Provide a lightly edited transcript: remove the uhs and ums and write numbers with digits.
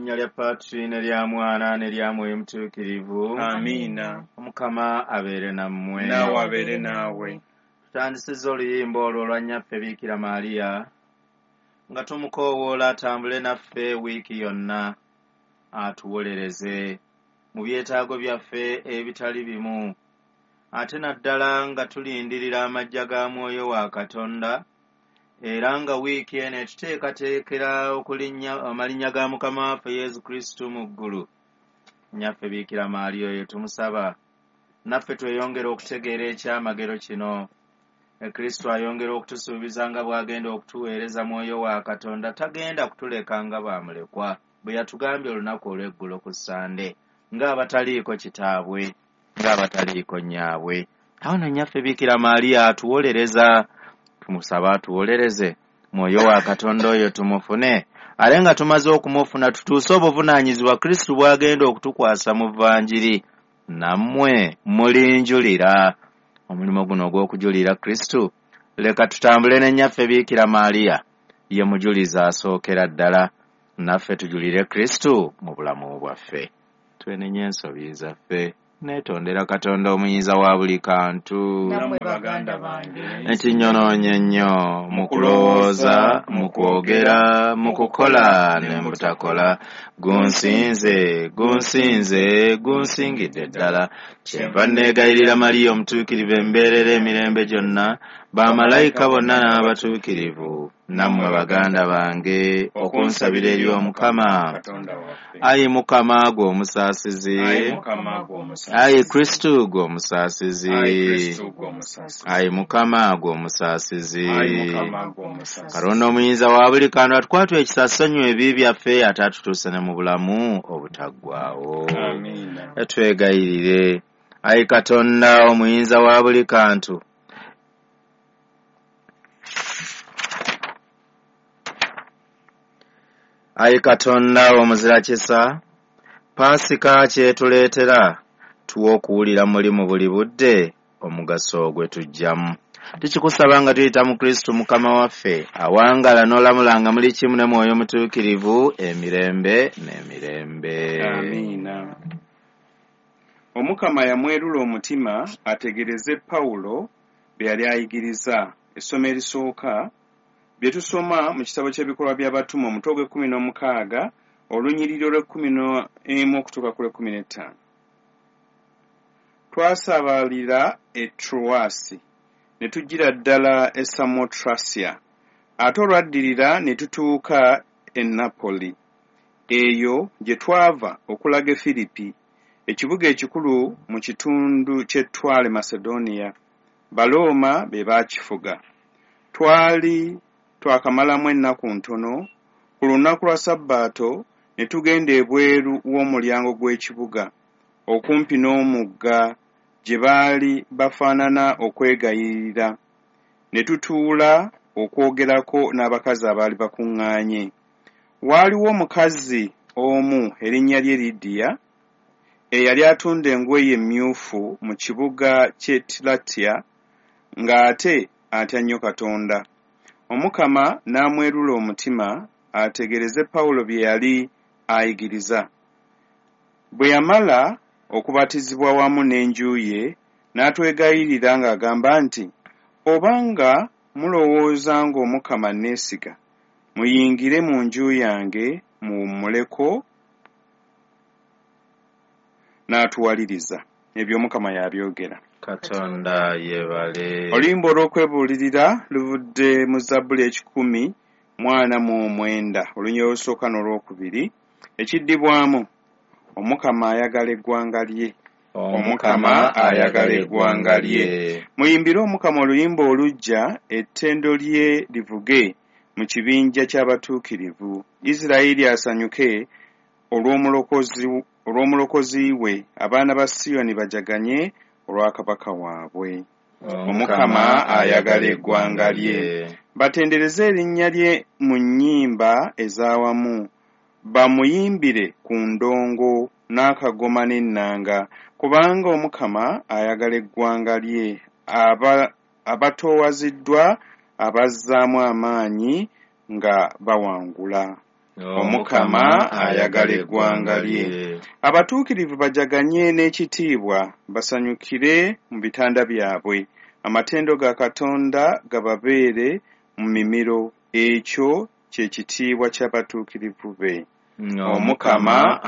Linnya lya Patri ne lya Mwana ne lya Mwoyo Mutuukirivu. Amiina. Omukama abeere nammwe. Naawe abeere naawe. Tutandisizza oluyimba olwo olwa Nnyaffe Biikira Maria nga tumukoowoola atambule naffe wiiki yonna, atuwolereze mu byetaago byaffe ebitali bimu, ate naddala nga tulindirira amajja ga Mwoyo wa Katonda, era nga wiiki eno etuteekateekera okulinnya amalinnya ga Mukama waffe Yesu Kristo mu ggulu. Nnyaffe Biikira Maria oyo tumusaba naffe tweyongere okutegeera ekyamagero kino. Kristo ayongera okutusuubiza nga bw'agenda okutuweereza Mwoyo wa Katonda, tagenda kutuleka nga bw'amulekwa, bwe yatugambye olunaku olw'eggulo ku Ssande, ng'abataliiko kitaabwe, ng'abataliiko nnyaabwe. Awo nno Nnyaffe Biikira Maria atuwolereza, tumusaba atuwolereze Mwoyo wa Katonda oyo tumufune, ate nga tumaze okumufuna tutuuse obuvunaanyizibwa Kristo bw'agenda okutukwasa mu Vanjiri. Nammwe mulinjulira. Omulimu guno ogw'okujulira Kristo, leka tutambule ne Nnyaffe Biikira Maria, ye mujulizi asookera ddala, naffe tujulire Kristo mu bulamu bwaffe. Twenenye ensobi zaffe, neetondera Katonda omuyinza wa buli kantu. Nammwe baganda bange. Ekinyonoonye nnyo mu kulowooza, mu kwogera, mu kukola ne mu butakola. Gunsinze, gunsinze, gunsingidde ddala. Kyenva neegayirira Mariya omutuukirivu embeerera emirembe gyonna, bamalayika bonna n'abatuukirivu, nammwe baganda bange, okunsabira eri Omukama. Katonda waffe. Ayi Mukama gwe omusaasizi. Ayi Mukama gwe omusaasizi. Ayi Kristo gwe omusaasizi. Ayi Kristo gwe omusaasizi. Ayi Mukama gwe omusaasizi. Ayi Mukama gwe omusaasizi. Katonda omuyinza wa buli kantu atukwatwa ekisa asonyiwe ebibi byaffe ate atutuuse ne mu bulamu obutaggwaawo. Amiina. Twegayirire. Ayi Katonda omuyinza wa buli kantu, Ayi Katonda omuzira kisa, Paasika kyetuleetera, tuwe okuwulira muli mu buli budde omugaso gwe tujjamu. Tukikusaba nga tuyita mu Kristo Mukama waffe, awangala n'olamulanga muli kimu ne Mwoyo Mutuukirivu emirembe n'emirembe. Amiina. Omukama yamwerula omutima ategereze Pawulo bye yali ayigiriza. Essomo erisooka bye tusoma mu kitabo ky'ebikolwa by'abatume omutwe ogw'ekkumi n'omukaaga olunyiriri olw'ekkumi n'emu okutuuka ku lw'ekkumi n'ettaano. Twasabalira e Troasi ne tujjira ddala e Samotrasia, ate olwaddirira ne tutuuka e Napoli, eyo gye twava okulaga e Firipi, ekibuga ekikulu mu kitundu ky'ettwale Macedonia. Balooma be baakifuga. Twali twakamalamu ennaku ntono, ku lunaku lwa Sabbaato ne tugenda ebweru w'omulyango gw'ekibuga, okumpi n'omugga gye baali bafaanana okwegayirira, ne tutuula okwogerako n'abakazi abaali bakuŋŋaanye. Waaliwo omukazi omu erinnya lye Lidiya, eyali atunda engoye emmyufu mu kibuga ky'e Tiratya, ng'ate atya nnyo Katonda. Omukama n'amwerula omutima ategereze Pawulo bye yali ayigiriza. Bwe yamala okubatizibwa wamu n'enju ye, n'atwegayirira ng'agamba nti, obanga mulowooza ng'Omukama neesiga, muyingire mu nju yange muwummuleko, n'atuwaliriza. Ebyo Omukama y'abyogera. Katonda yeebale. Oluyimba olw'okwebuulirira luvudde mu Zabbuli 149, olunyiriri olusooka n'olwokubiri, ekiddibwamu Omukama ayagala eggwanga lye. Omukama ayagala eggwanga lye. Muyimbire Omukama oluyimba oluggya, ettendo lye livuge mu kibinja ky'abatuukirivu. Isirayiri asanyuke olw'omulokozi we, abaana ba Siyoni bajaganye olwa kabaka waabwe. Omukama ayagala eggwanga lye. Batendereze erinnya lye mu nnyimba ez'awamu, bamuyimbire ku ndongo n'akagoma n'ennanga, kubanga Omukama ayagala eggwanga lye, abatoowaziddwa abazzaamu amaanyi nga bawangula. Omukama ayagala eggwanga lye. Abatuukirivu bajaganye n'ekitiibwa, basanyukire mu bitanda byabwe. Amatendo ga Katonda gababeere mu mimiro, ekyo kye kitiibwa ky'abatuukirivu be. Omukama